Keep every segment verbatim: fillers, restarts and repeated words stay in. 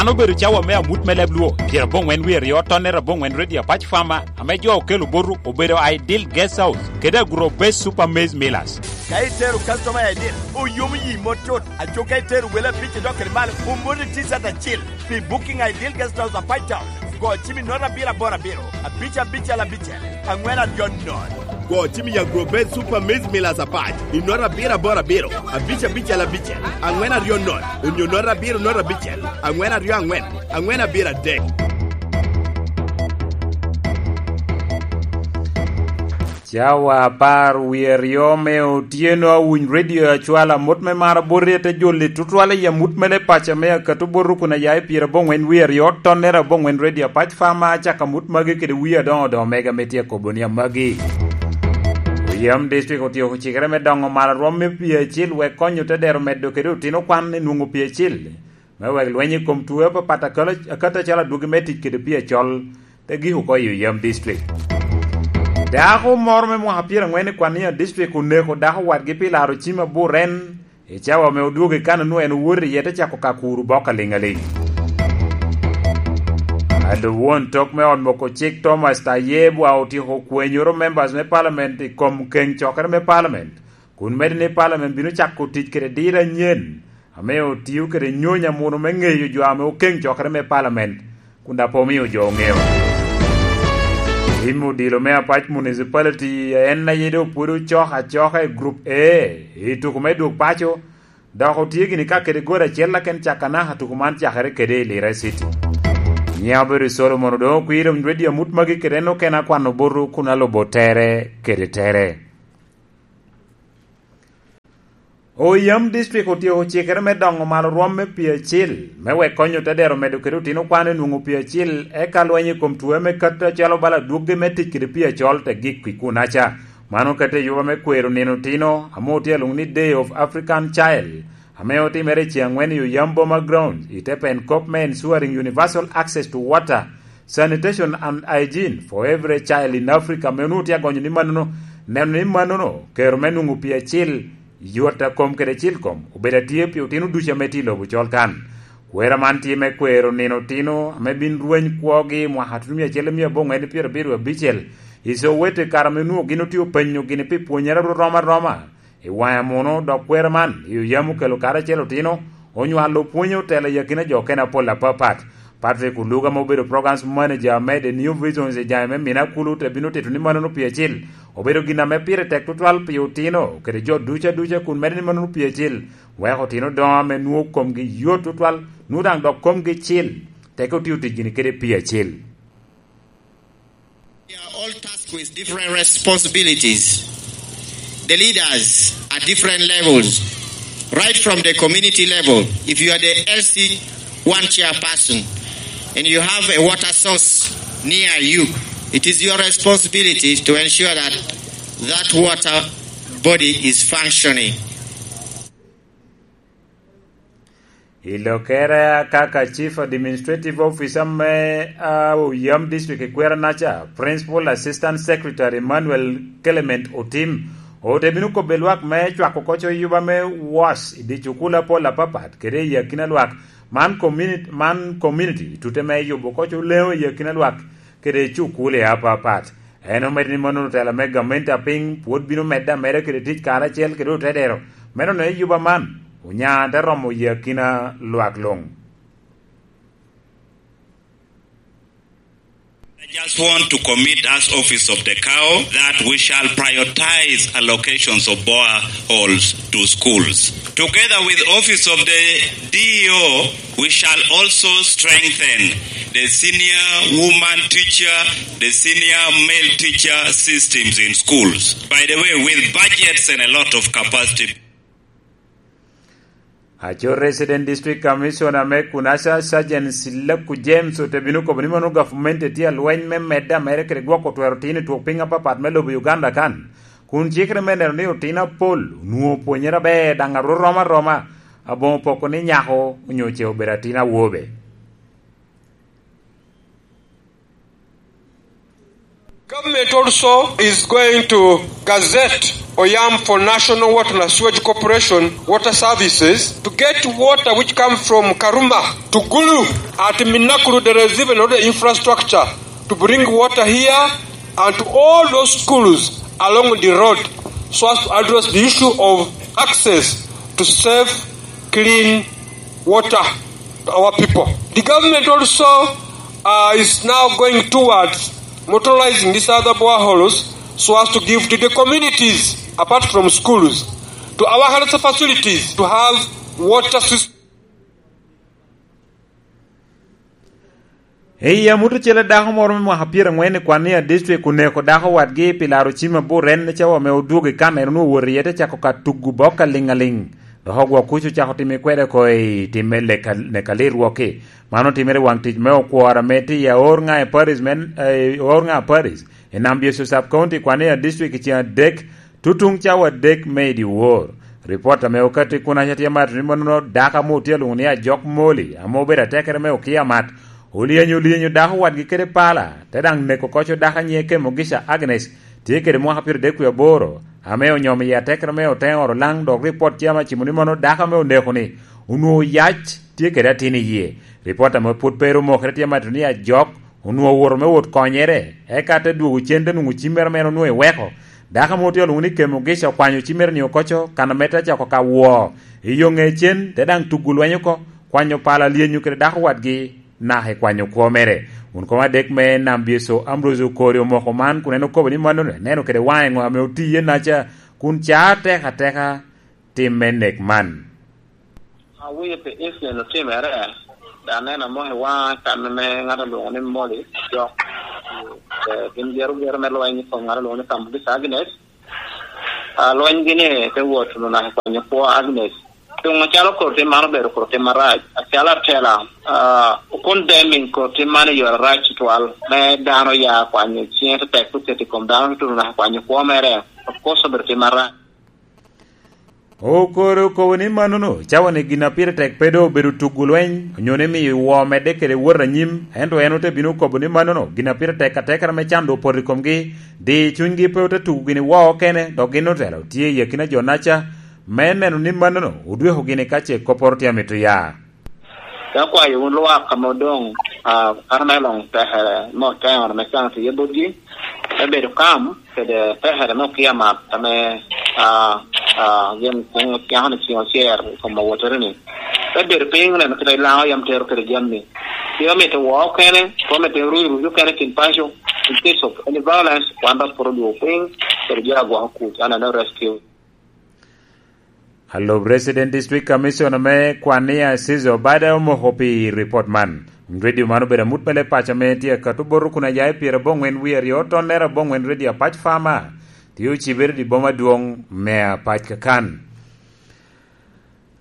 An obedo cawa me amut me leb Luo, pyerabongwen wie aryo, tonnere abongwen Radio Apac Farmer, ame jo okelo botu obedo Ideal Guest House kede Agro Base Super Maize Millers. Ka itero customer I D, oyomo yi mot tut. Aco ka itero wele abic idok kede malo, omoni T-shirt acil. Pi booking Ideal Guest House Apac Town, go cim i nota abiro aboro abiro, abic abicel abicel, angwen aryo nono. Go cim i Agro Base Super Maize Millers Apac i nota abiro aboro abiro, abic abicel abicel, angwen aryo nono, onyo nota abiro nota abicel, angwen aryo angwen, angwen abiro adek. Cawa apar wie aryo me otyeno, awiny redio acwalo amut me mar aboti, ate joli tutwal i amut mere paco me akato boto kun aya i pyerabongwen wie aryo, tonnere abongwen Radio Apac Farmer, acako amut magi kede wie adoŋo doŋo mega me tye akobo ni amagi. Oyam District otyeko cikere me doŋo malo rwom me pii acil wek konyo te dero medo kede otino kwan i nwoŋo pii acil, me wek lweny i kom tuo apapat akalo-, akato acalo adwogi me tic kede pii acol, te gik oko i Oyam District. Dako moro me mwaka pyerangwen i Kwania District oneko dako wadgi pi laro cim aburen i cawa ame odwogo i kan onwoŋo en owoto iye te cako ka kuro bok aliŋ aliŋ. Alub won tok me ot moko cik Thomas Tayebwa otyeko kwenyoro members me parliament i kom keŋ cokere me parliament, kun medde ni parliament bino cako tic kede diro anyen ame otio kede nyony amuno me ŋeyo jo ame okeŋ cokere me parliament, kun daŋ pe omio jo oŋeo. Tim odilo me Apac Municipality en aye doŋ pwod ocok acoka i Group A i tuko me dwog paco, dok otye gini ka kede gol acel aken cak anaka tuko man cakere kede i Lira City. Nyiŋa obedo i Solomon Odongo Kwir, omnyweddi amut magi kede en okene akwano boto kun alubo tere kede tere. Oyam District otyeko cikere me doŋo malo rwom me pii acil, me wek konyo te dero medo kede otino kwan i nwoŋo pii acil, eka lweny i kom tuo me kato acalo bala dwoggi me tic kede pii acol te gik i kunaca. Mano okete i yuba me kwero nino otino, ame otye alwoŋo ni Day of African Child, ame otimere i ceŋ angwen i Oyam Boma Ground, i te pen kop me Ensuring Universal Access to Water, Sanitation and Hygiene for Every Child in Africa, ame onwoŋo tye agonyo ni manono, neno ni manono kero me nwoŋo pii acil, yot a kom kede cil kom, obedo atye pi otino ducu ame tye i lobo col kan. Kwera man tye me kwero nino otino ame bin rweny kwogi i mwaka tutumia acel i mia abongwen pyerabiro abicel i Soweto, i kare ame onwoŋo gin otye openyo gini pi pwonyere rom aroma i waŋe amuno, dok kwera man i Oyam okelo karacel otino, onywalo pwonyo otelo i akina jo okene apol apapat. Patrick Oluga, ma obedo programs manager me The New Visions i jami me Mina Kulu, te bino tito ni manono pii acil obedo gin ame pire tek tutwal pi otino kede jo ducu aduca, kun medde ni manono pii acil weko otino doŋo ame nwoŋo komgi yot tutwal, nwoŋo daŋ dok komgi cil, teke otio tic gini kede pii acil. They are all tasked with different responsibilities. The leaders at different levels, right from the community level. If you are the L C one chairperson and you have a water source near you, it is your responsibility to ensure that that water body is functioning. I lokere kaka Chief Administrative Officer me, ah, Oyam District i Kwera-naca, Principal Assistant Secretary Emmanuel Clement Otim, ote bino kobbe lwak me cwako koco yuba me was i dye cukul apol apapat kede i akina lwak man community, man community tute me yubo koco leŋo i akina lwak kede cukul i apapat. En omedo ni mano otela me gamente apiny pwod bino medde ameda kede tic karacel kede otedero me nono i yuba man, onya te romo i akina lwak luŋ. I just want to commit as office of the cow that we shall prioritize allocations of boreholes to schools. Together with office of the D E O, we shall also strengthen the senior woman teacher, the senior male teacher systems in schools. By the way, with budgets and a lot of capacity. Aco Resident District Commissioner me Kunasa, Sergeant Silaku James, ote bino kobo ni mano gavumenti tye alweny me medde amere kede gwoko twero tino i twok piny apapat me lobo Uganda kan, kun cikere me neno ni otino apol onwoŋo pwonyere aber daŋ arwo rom aroma, aboŋo poko ni nyako onyo ce obedo atin awobe. Government also is going to gazette Oyam for National Water and Sewage Corporation water services to get water which come from Karuma to Gulu At Minakuru, there is even not the infrastructure to bring water here and to all those schools along the road so as to address the issue of access to safe, clean water to our people. The government also, uh, is now going towards motorizing these other boreholes so as to give to the communities, apart from schools, to our health facilities to have water system. I amut ocele, dako moro me mwaka pyeraŋwen i Kwania District oneko dako wadgi pi laro cim abor en cawa ame odwogo i kan en onwoŋo owot iye te cako ka tugo bok aliŋ aliŋ. Dok ogwok kuc ocako timo kwede oko i tim me leka- neka lirwok-ki. Man otimere i waŋ tic me okworo ame tye i aor ŋa i Paris, men, eh, aor ŋa i Paris, i Nam Byecu Sub County, Kwania District, i ceng adek, tutuŋ cawa adek me i dyewor. Ripot ame okatti kunaca tye mato ni mannono dako ame otye alwoŋo ni Ajok Moli, ame obedo atekere me Okia Mat, olyenyo olyenyo dako wadgi kede pala, te daŋ neko koco dako a nyiŋe Kemogisha Agnes, tye kede mwaka pyeradek wie aboro, ame onyomo i atekere me Oteŋoro Laŋ, dok ripot tye ame acimo ni mano dako ame oneko-ni onwoŋo oyac, tye kede atin i yie. Ripot ame pwod pe ru omokere tye mato ni Ajok onwoŋo owoto me wot konyere, eka te dwogo cen te nwoŋo cimmere mere onwoŋo eweko. Dako ame otye olwoŋo ni Kemogisha okwanyo cimmere-ni oko co, kan ame te cako ka woo i yo ŋe cen, te daŋ tugo lweny oko, kwanyo pala lyenyo kede dako wadgi, naka i kwanyo kwo mere. Wun kom adek me Nam Byeco, Ambrose Okori, omoko man kun en okobo ni mannono eneno kede waŋe ŋo ame otiye naca kun caa atek ateka tim me nek man. Awinyo pi incident otimere, dok aneno amoko i waŋa kan ame ŋat olwoŋo ni Moli Jok. Eh, gin gero gero me lweny i kom ŋat olwoŋo ni Kambugi Agnes. Ah, lweny gini te wot onaka kwanyo kwo Agnes. Doŋ acalo kor tim man obedo kor tim marac, acalo atela, ah, okon deming kor tim man i yore arac tutwal, me dano ya kwanyo ciŋe tetek oketo i kom dano tutuno naka kwanyo kwo mere, of course obedo tim marac. Okoro okobo ni mannono cawa ni gin a pire tek pe doŋ obedo tugo lweny, onyo ni miyo woo medde kede wot anyim, ento en ote bino okobo ni mannono gin a pire tek atekere me can doŋ opoto i komgi, di cunygi pe ote tugo gini woo okene, dok gin otelo tye i akina jo naca, me neno ni mannono odweko gini ka ce kopporo tye amito ya. Te akwayo wun lwak ame odoŋ, ah, kato me loŋ tekere me Oteŋoro ame can tye botgi, me bedo kam kede tekere me Okia Mat ame, ah, ah, gin nyako-ni ciŋ ocer i kom awottere-ni. Te bedo piny oneno kite i Laŋo yam tero kede jami. Pe omito woo okene, pe omito ruc ruc okene i kin paco. In case of any violence, wan dok pwod odwogo piny kede jo agwoko kuc, aneno rescue. Alub Resident District Commissioner me Kwania, Caesar Obada, omoko pi ripot man. Wun redio man obedo amut me leb paco ame tye akato bot rukun ajayi pyeraboŋwen wie aryo, tonnere aboŋwen redio apac Fama, tye ocibere i boma adwoŋ me apac kakan.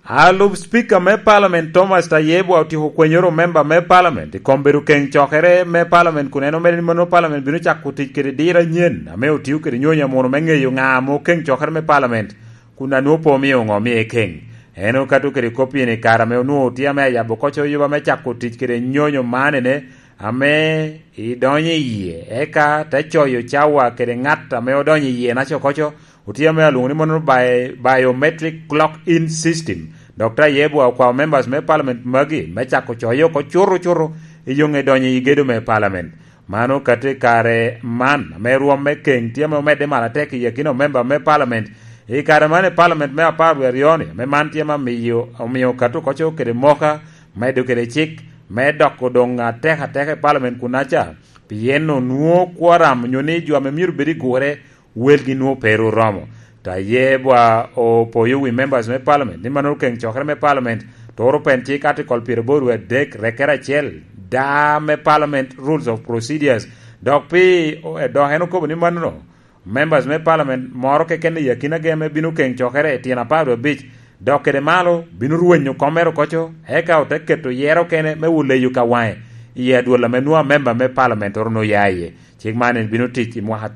Alub Speaker me Parliament Thomas Tayebwa otyeko kwenyoro member me Parliament i kom bedo keŋ cokere me Parliament, kun en omedde ni mano Parliament bino cako tic kede diro anyen ame otio kede nyonyo amuno me ŋeyo ŋa ame okeŋ cokere me Parliament, kun a nwoŋo pe omio ŋo omie keŋ. En okato kede kop-pi ni kare ame onwoŋo otye ame ayabo koc oyuba me cako tic kede nyonyo manene ame idonyo i yie, eka te coyo cawa kede ŋat ame odonyo i yie naco koco, otye ame alwoŋo ni mono bi-, biometric clock in system. Dok Tayebwa okwao members me parliament magi me cako coyo oko cuto cuto i yo ŋe donyo i gedo me parliament. Man okato i kare man ame rwom me keŋ tye ame omedde malo atek i akina omemba me parliament. I kare man i parliament me apar wie aryo-ni, ame man tye ame amiyo, omiyo okato koco kede moka, medo kede cik, me doko doŋ atek ateka i parliament kunaca, pien onwoŋo quorum onyo ni jo ame myero bed i gure welgi nwoŋo pe ru romo. Tayebwa opoyo wi members me parliament ni mannono keŋ cokere me parliament turo pen cik article pyeraboro adek rekkere acel da me parliament rules of procedures. Dok pi, dok en okobo ni mannono members me parliament moro keken i akina geme bino keŋ cokere i tyen apar wie abic, dok kede malo bino rwenyo kom mere okoco, eka ote keto yero kene me wuleyo ka waŋe i adwol ame nwoŋo amemba me parliament oro nwoŋo ya iye. Cik man en bino tic i mwaka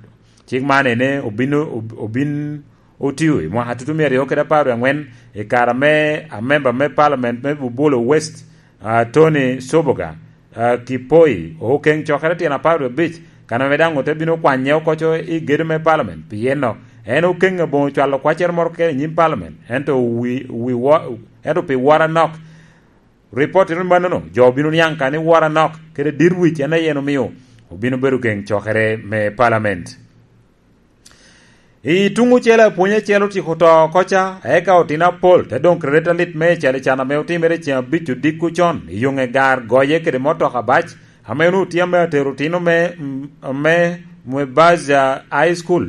Cik man ene obin, ob-, obin otio i mwaka tutumia aryo kede apar wie aŋwen, i kare ame amemba me parliament me Bubolo West, ah, Tony Soboga, ah, Kipoi, okeŋ cokere tyen apar wie abic, kan ame daŋ ote bino kwanye okoco i gedo me parliament. Pien no, en okeŋ aboŋo cwalo kwaccere moro keken i nyim parliament, ento wi, wi wo-, ento pi woro anok, Ripot eno mannono, jo obino niaŋ ka ni woro anok, kede dit wic en aye en omio obino bedo geŋ cokere me palament. I tuŋ ocele, apwony acel otyeko to oko ca, eka otino apol te doŋ kede ret alit me ecalican ame otimere ceŋ abic odiko con i yoŋe gar goye kede motoka bac, ame onwoŋo tye ame atero otino me, me, me Mwebaza High School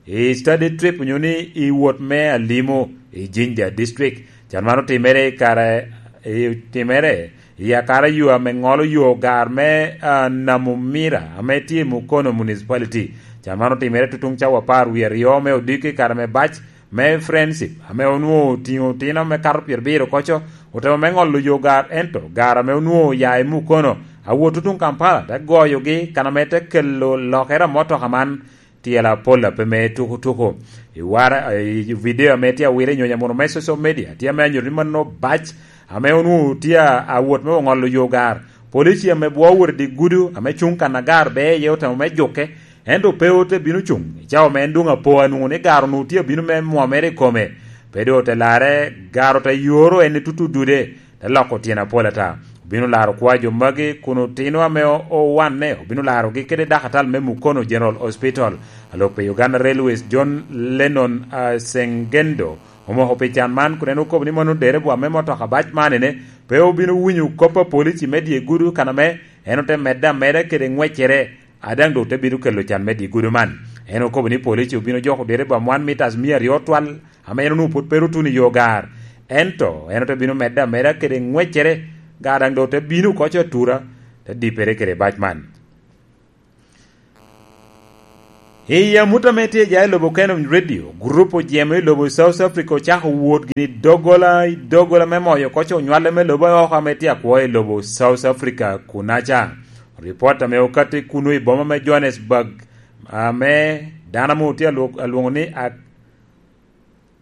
i study trip onyo ni i wot me alimo i Jinja District. Can man otimere i kare, i, timere i akara yo ame ŋolo yo gar me, ah, Namumira ame tye i Mukono Municipality. Can man otimere tutuŋ cawa apar wie aryo me odiko i kare me bac me Friendship ame onwoŋo otiŋo otino ame kato pyerabiro koco, otemo me ŋolo yo gar, ento gar ame onwoŋo oya i Mukono awot tutuŋ Kampala te goyogi kan ame te kelo lokere a motoka man tyela pol a pe me tukutuku. I wara, i video ame tye awire i nyonya mono me social media, tye ame anyuto ni mano bac ame onwoŋo tye a, awot me oŋolo yo gar. Polici ame bwo owot i dye gudo ame cuŋ kan a gar be iye otemo me juke, ento pe ote bino cuŋ. I cawa me en doŋ apo anwoŋo ni gar onwoŋo tye abino me mwomere i kome. Pe doŋ ote larre, gar ote yoro en i tutu dude. Te loko tyen apol ata. Obino laro kwa jo magi kun otino ame o-, owanne, obino larogi kede dakatal me Mukono General Hospital. Alok pi Uganda Railways, John Lennon, ah, Sengendo, omoko pi can man kun en okobo ni mano dereba me motoka bac man ene pe obino winyo kop a polici me dye gudo kan ame en ote medde ameda kede ŋweccere, a daŋ doŋ te bino kelo can me dye gudo man. En okobo ni polici obino joko dereba one meters mia aryo twal, ame en onwoŋo pwod pe ru tuno i yo gar. Ento en ote bino medde ameda kede ŋweccere, gar daŋ doŋ te bino oko atura, te dippere kede bac man. I amut ame tye ja i lobo Canon Radio, gurup ojemo i lobo South Africa ocako wot gini doggola i doggola me moyo koco onywale me lobo oko ame tye akwo i lobo South Africa kunaca. Ripot ame okatti kunu i boma me Johannesburg, ame dano ame otye alwo-, alwoŋo ni Ak-,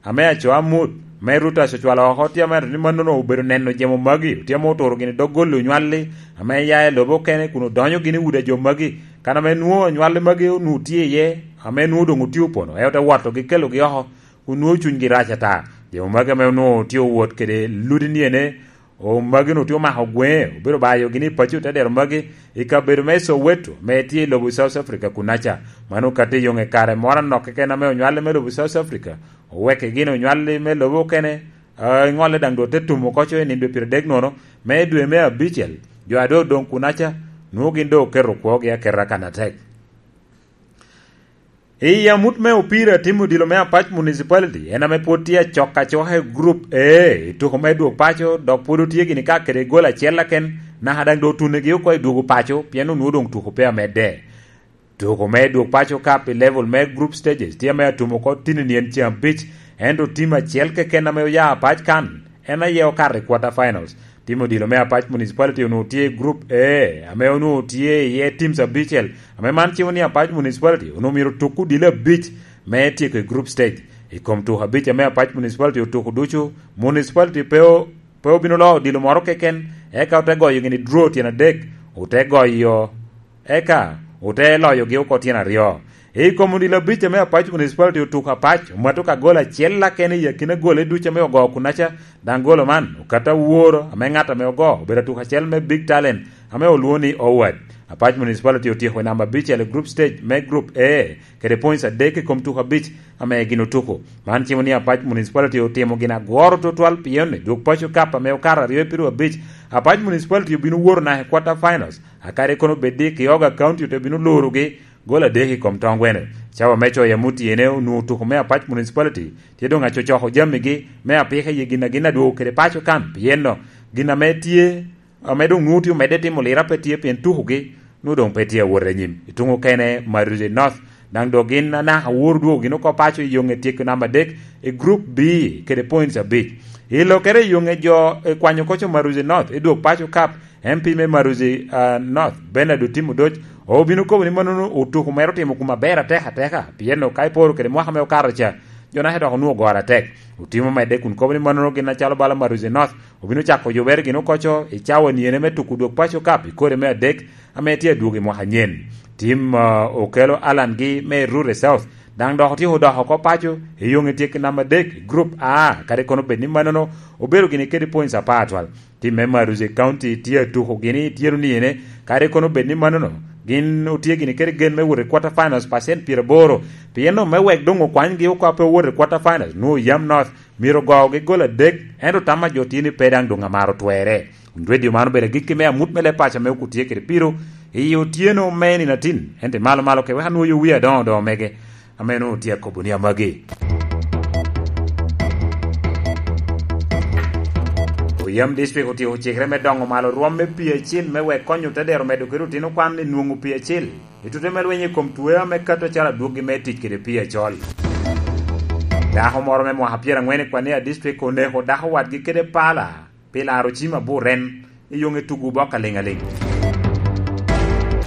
ame aco amut, me Reuters ocwalo oko, tye amento ni mannono obedo neno jemo magi, tye ame oturo gini dog golo onywalli, ame ya i lobo okene kun odonyo gini i udi a jo magi, kan ame nwoŋo onywalli magi onwoŋo tye iye, ame nwoŋo doŋ otye opono, en ote wotogi kelogi oko, kun nwoŋo cunygi rac ata. Jemo magi ame onwoŋo tye owot kede ludi ni ene, O, magi-nu tye omako gweŋe, obedo bayo gini i paco te dero magi i kabedo me Soweto, me tye i lobo South Africa kunaca. Mano okatti i yoŋe kare moro anok keken ame onywale me lobo South Africa, owekke gin onywalli me lobo okene, a, i ŋolle daŋ doŋ te tumo koco i nino dwe pyeradek nono me dwe me abicel. Jo a doŋ odoŋ kunaca, nwoŋo gin doŋ oketo kwogi aketa kan atek. I amut me opira, tim odilo me Apac Municipality en ame pwod tye acok acoka i Group A i tuko me dwog paco, dok pwod otye gini ka kede gol acel aken, naka daŋ doŋ otunegi oko i dwogo paco, pien onwoŋo doŋ tuko pe amedde. Tuko me dwog paco kap i level me group stages tye ame atumo oko tinni nyen ceŋ abic, ento tim acel keken ame oya Apac kan, en aye okato i quarter finals. Tim odilo me Apac Municipality onwoŋo tye i Group A, ame onwoŋo tye iye teams abicel, ame man cimo ni Apac Municipality onwoŋo myero otuk odilo abic me tyeko i group stage. I kom tuko abic ame Apac Municipality otuko ducu, Municipality pe o-, pe obino loo odilo moro keken, eka ote goyo gini draw tyen adek, ote goyo, eka ote loyogi oko tyen aryo. I kom odilo abic ame Apac Municipality otuko Apac, omato ka gol acel akene i akina gole ducu ame ogo kunaca, daŋ golo man okato aworo ame ŋat ame ogo obedo atuk acel me Big Talent ame olwoŋo ni Howard. Apac Municipality otyeko i namba abicel i group stage me Group A kede points adek i kom tuko abic ame gin otuko. Man cimo ni Apac Municipality otimo gin agworo tutwal pien i dwog paco kap ame okato aryo i piru abic, Apac Municipality obino woto naka i quarter finals, a kadi kono bed ni Kioga County ote bino lurogi gol adek i kom toŋ gweno. Cawa me coyo amut iyene onwoŋo tuko me Apac Municipality tye doŋ acocoko jamigi me apika i gin a gin adwogo kede paco kan, pien no gin ame tye, ame doŋ nwoŋo tye omedde timo lira pe tye pien tukogi nwoŋo doŋ pe tye awot anyim. I tuŋ okene, Maruzi North daŋ doŋ gin anaka woro dwogo gin oko paco i yoŋe tyeko namba adek i Group B kede points abic. I lokere i yoŋe jo, e, kwanyo koco Maruzi North i dwog paco kap, M P me Maruzi, ah, North, Bernard Otim Odoc, obino kobo ni mannono otuko mere otimo kuma ber atek ateka, pien ka iporo kede mwaka me okato ca, jo naka dok onwoŋo ogoro atek. Otim omedde kun kobo ni mannono gin acalo bala Maruzi North obino cako yubere gin okoco i cawa niene me tuko dwog paco kap i kore me adek ame tye adwogo i mwaka anyen. Tim, ah, okelo Alan gi me Rure South Daŋ dok otyeko dok oko paco, i yoŋe tye ki namba adek i Group A, kadi kono bed ni mannono obedo gini kede points apar atwal. Tim me Maruzi County tye atuko gini i tyero niyene, kadi kono bed ni mannono gin otye gini kede gen me wot i quarter finals pacent pyeraboro, pien me wek doŋ okwanygi oko a pe owot i quarter finals, nwoŋo Yam North myero ogogi gol adek, ento tam a jo tye ni pe daŋ doŋ amaro twerre. Winy redio man obedo agikki me amut me leb paco ame okut tye kede piro i otyeno me nino atin, ento i malo malo ke wek anwoyo wie adoŋo doŋo mege ame nwoŋo tye akobo ni amagi. Oyam District otyeko cikere me doŋo malo rwom me pii acil me wek konyo te dero medo kede otino kwan i nwoŋo pii acil i tute me lweny i kom twe ame kato acalo adwoggi me tic kede pii acol. Dako moro me mwaka pyerangwen i Kwania District oneko dako wadgi kede pala pi laro cim aburen i yoŋe tugo bok aliŋaliŋ.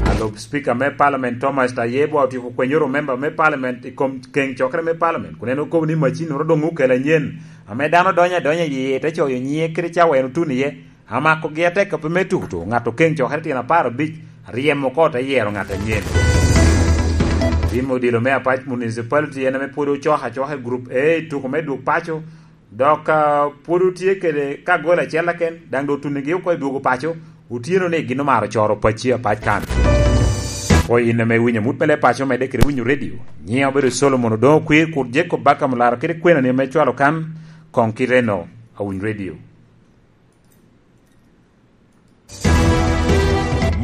Alub Speaker me Parliament Thomas Tayebwa otyeko kwenyoro member me Parliament i kom keŋ cokere me Parliament, kun en okobo ni macin oro doŋ okelo anyen ame dano donyo adonya i yie te coyo nyiŋe kede cawa en otuno iye, amakogi atek ape me tuto ŋat okeŋ cokere tyen apar abic, aryemo oko te yero ŋat anyen. Tim odilo me Apac Municipality en ame pwod ocok acoka i Group A i tuko me dwog paco, dok, ah, pwod otye kede ka gol acel aken, daŋ doŋ otunigi oko i dwogo paco, otyeno ni gin omaro coro pacci apac kan. Koyi in ame iwinyo amut me leb paco, medde kede winyo redio. Nyiŋa obedo Solomon Odoŋo Kwir, kur Jacob Bakam olaro kede kwenani ame cwalo kan, koŋ kite no, awiny redio.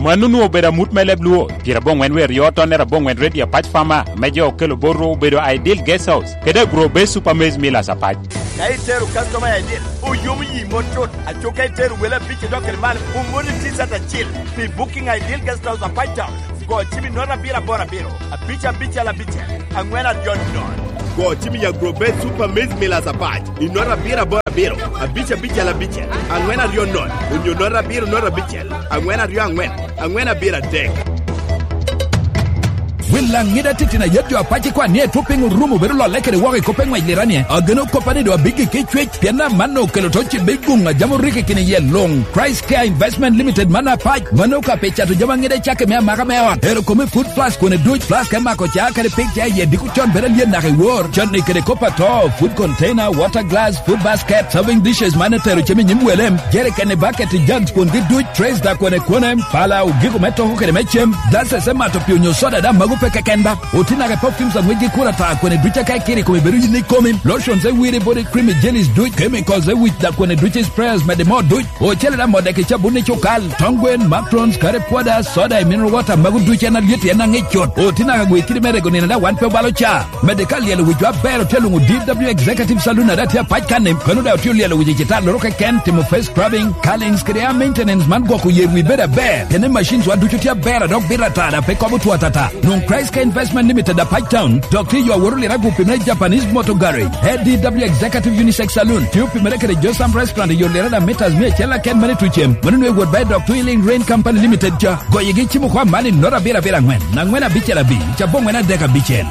Mano onwoŋo obedo amut me leb Luo, pyeraboŋwen wer yo tonnere aboŋwen redio apac Fama, me jo okelo bot ru obedo Ideal Guest House, kede Agro Base Super Maize Millers apac. Ka itero customer i Ideal, oyomo yi mot cut, aco ka itero wele abic idok kede malo, omoni T-shirt acil pi booking Ideal Guest House apac Town. Go cim i note abiro aboro abiro, abic abicel abicel, aŋwen aryo nono. Go cim i Agro Base Super Maize Millers apac i note abiro aboro abiro, abic abicel abicel, aŋwen aryo nono, onyo note abiro note abicel, aŋwen aryo aŋwen, aŋwen abiro adek. Wil Laŋida titino ayet jo apac i kwan ni etwo piny orumo bedo lolle kede woko i kop me ŋwec liranie. Ageno koppa ni doŋ abiggi ki cwec, pien amanno okelo to cibbe guŋ a jam orikki kine iye luŋ. Christ Care Investment Limited man apac, mano ka pe cato jami aŋida cake me amaka me ot. Ero kome food flask kone duc, flask me mako ca kede pig ca iye diko con bedo alyet naka i wor. Con ni kede kop ato, food container, water glass, food basket, serving dishes man etero cem i nyim welem, jerikeni, baketi, jugs kun gi duc, trays da kone kone, pala, ogiko me toko kede me cem, glasses me mato pi onyo soda da mago pe keken ba. Otino ake perfumes aŋwec gi kura ta kone duc aka ikiri kome bedo yin ikomi, lotions e wiri body cream i jellies duc, chemicals e wic da kone duc i sprayers mede mo duc. Ocele da modde ki cabun i cukal, tong gwen, makrons, kare pwoda, soda i mineral water mago duc en alyet en aŋic cut. Otino aka gwe kidi me rego nino da wan pe obalo ca. Mede ka lyelo wic wa ber otye luŋo D W Executive Saloon ada tye apac kan-ni, kono da otye lyelo wic i cita loro keken, timo face scrubbing, curlings kede hair maintenance man gwoko yer wi bedo aber. Kene machines wa ducu tye aber a dok bito ata da pe kobo two atata. Nwoŋ Christ Care Investment Limited apac town, dok tye yo aworo lira gupi me Japanese Motor Garage. A D W Executive Unisex Saloon, tye opimere kede Josam Restaurant i yo lira da meters mia acel aken mane tucem. Mano nwe wot ba i dok Twilling Rain Company Limited ca. Goyigi cimo kwa mani noro abiro abiro aŋwen, aŋwen abicel abic, cabo ŋwen adek abicel.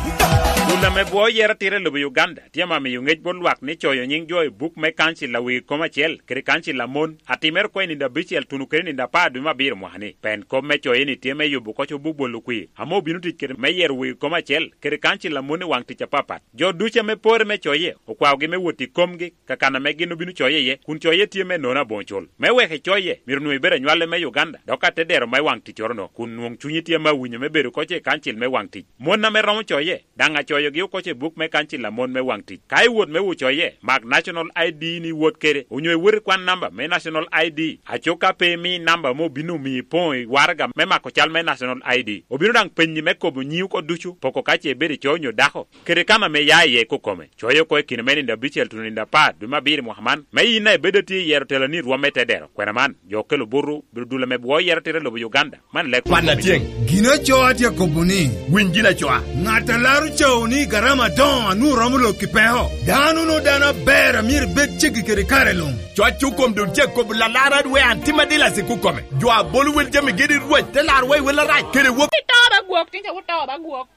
Bul ame bwo yero tira i lobo Uganda tye ame amiyo ŋec bot lwak ni coyo nyiŋ jo i buk me kancil a wegi kom acel kede kancil a mon, atimere oko i nindo abicel tuno kede nindo apar dwe me abiro mwaka-ni. Pen kop me coye-ni tye me yubo oko cobo bolo kwir ame obino tic kede me yero wegi kom acel kede kancil a mon i waŋ tic apapat. Jo ducu ame porre me coye okwaogi me wot i komgi, kakan ame gin obino coye iye, kun coye tye me nono aboŋo cul. Me wek icoye, myero onwoŋo ibedo anywale me Uganda, dok atedero me waŋ ticcoro-no, kun nwoŋ cunyi tye ame awinyo me bedo oko i kancil me waŋ tic. Mon ame romo coye, daŋ acoyogi oko i buk me kancil a mon me waŋ tic. Ka iwot me wo coye, mak National I D ni iwot kede, onyo iwot ikwan namba me National I D. Aco ka pe imi namba ame obino miyo ipoŋo i waraga me mako cal me National I D. Obino daŋ penyi me kobo nyiŋi oko ducu, poko ka ce ibedo ico onyo dako, kede kan ame ia iye kokome. Coye oko i kine me nindo abicel tuno nindo apar dwe me abiro i mwaka man, me in a ibedo atye i yero teloni i rwom me tedero. Kwena man, jo okelo butu, bino dul ame bwo yero tira i lobo Uganda. Man lek Kwan atyeŋ. Gin aco atye akobo ni, winy gin acoa. Ŋat a laro cawo ni garama adoŋo a nwoŋo romo lok i peko. Dano no dano aber a myero bed ceggi kede kare luŋ. Coc okom doŋ tye akobo lalara dwe an tim adilas i kukome. Jo a bolo wel jami gedi Rwot te laro wa i wel arac kede wok. Ito ba gwok, tinca wuto ba gwok.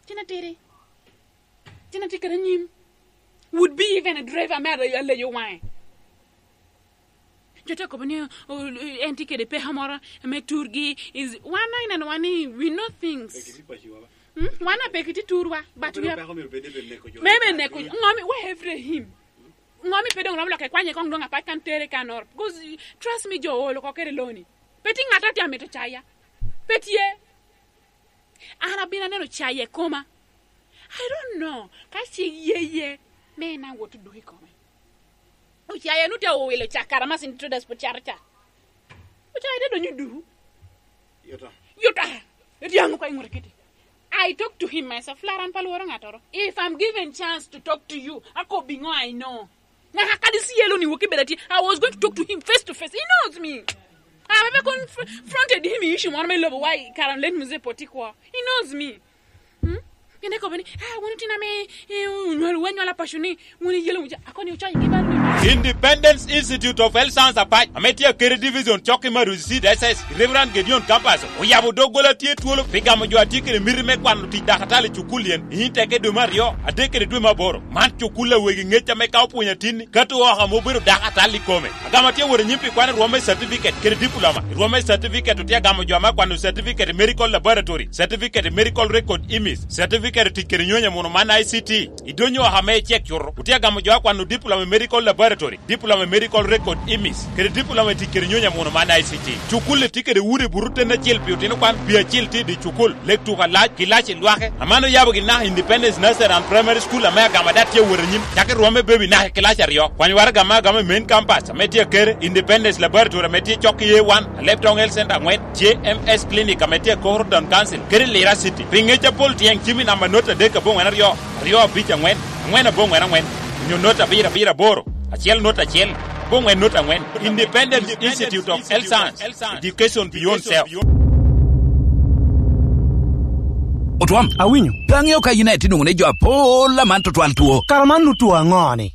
Cina tidi. Cina tye kede anyim. Would be even a driver me ale-, aleyo waŋe. Jo te kobo ni, oh, en tye kede peko moro me turgi. Is, wan na ineno wan ni we know things. Hmm? Wan a peki ti turwa, but we are peko myero bed ebe neko jo. Maybe neko jo. Ngo mi, where every him? Ngo mi pe dong rom loke kwanye kong dong apat kan tere kan or. Because, trust me, jo olo ko kere loni. Pe ti ng'ato ti amito caya. Pe tye. An abino aneno caya i koma. I don't know. Ka ce ye ye, me na wot duk i kome. Ocaya nu te owilo cak kara masin to das put caro ca. Ocaya te donyo duru. Yuta. Yuta. Eti ango ka ing'uto kiti. I talk to him myself. Laran pa lworo ng'atoro. If I'm given chance to talk to you, ako bingo I know. Ng'aka kadi si yelo ni woki beda ti. I was going to talk to him face to face. He knows me. I have ever confronted him in issue moro me lobo why Karam let me say poti kwo. He knows me. Hmm? Kende kobo ni, ah, wun itino ame, eh, onywal, wanywala paco ni, wun iyelo muca, akoni ocoyo gi bal ni. Independence Institute of Health Science Apac, ame tye Akere Division, cok i Maruzi Seed S S, Reverend Gideon Campus, oyabo doggola tye twolo pi gamo jo a tye kede miti me kwano tic dakatali i cukul yen, i teke dwe me aryo, adek kede dwe me aboro. Man cukul a wegi ŋec ame ka opwonyo atinni, kato oko ame obedo dakatali i kome. Agamo atye wot anyim pi kwano rwom me certificate kede diploma. I rwom me certificate otye agamo jo ame akwano certificate i medical laboratory, certificate i medical record image, certificate i tic kede nyonyo muno man I C T. I donyo oko ame icek cuto, otye agamo jo akwano diploma i medical laboratory, diploma i medical record image, kede diploma i tic kede nyonyo muno man I C T. Cukul-li tye kede udi buto ten acel pi otino kwan, pi acel tye i dye cukul. Lek tuko alac, kilac i lwake. Aman oyabo gin naka Independence Nursery and Primary School ame agamo ada tye awot anyim. Cak i rwom me baby naka i kilac aryo. Kwany waraga ame agamo i main campus ame tye Akere, Independence Laboratory ame tye cok i A one, Alebtong Health Center angwen, J M S Clinic ame tye Koro Town Council, kede Lira City. Pi ngec apol tyeng cim i namba not adek aboŋwen aryo, aryo abic angwen, angwen aboŋwen angwen, onyo not abiro abiro aboro, acel not acel, aboŋwen not angwen. Independence Institute of Health Science. Education beyond self. Otwam, awinyo. Pe aŋeo ka in aye tye nwoŋo ni jo apol aman tutwal two. Kara man otwo aŋo-ni?